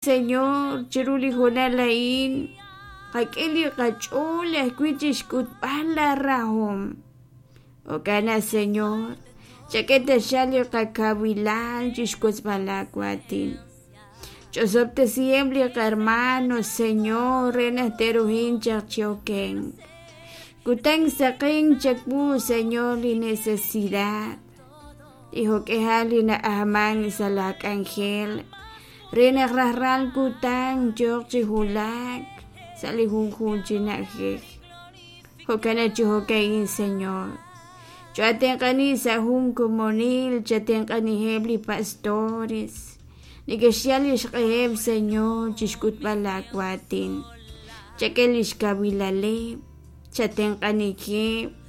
Señor, chiru li hoonal a'in qak'e li qach'ool ajwi' chixk'utb'al laa rahom. Jo'kan naq, Señor, chak'e taxaq li qakawilal chixwotzb'al laa waatin. Ch'osob'tesiheb' li qahermano, Señor, re naq te'ruhin chaq chi okenk. Kutan saqenk chawu, Señor, li necesidad. Li jo'k'ihal li na'ajman sa' laa k'anjel re naq rajlal kutan yooq chi wulak sa' li junjunq chi na'ajej. Jo'kan naq chi jo'ka'in, Señor, choo'atenq'ani sa' jun komonil, chatenq'aniheb' li pastores neke'xyal lix q'eheb', Señor, chixk'utb'al laa waatin. Chak'e lix kawilaleb', chatenq'aniheb'.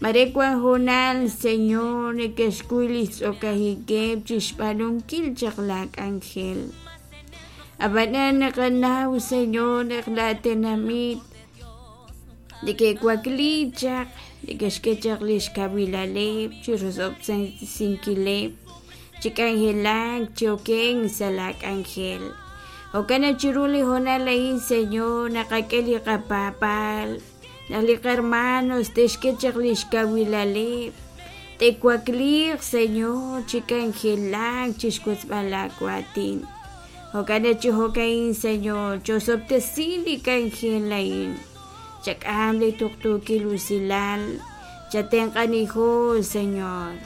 Mare wan hoonal, Señor, neke'xkuy lix tz'okajikeb' chixb'aanunkil chaq laa k'anjel. A'b'anan naqanaw, Señor, naq laa tenamit neke'wakli chaq, neke'xk'e chaq lix kawilaleb' chirosob'tesinkileb', chi k'anjelak, chi okenk sa' laa k'anjel. Jo'kan naq chiru li hoonal a'in, Señor, naqak'e li qapaab'aal Naq li qahermanos te'xk'e chaq lix kawilaleb', te'wakliiq, Señor, chi k'anjelak chixwotzb'al laa waatin. Jo'kan naq chi jo'ka'in, Señor, chosob'tesi li k'anjel a'in. Chak'am li tuqtuukil usilal, chatenq'anijo, Señor.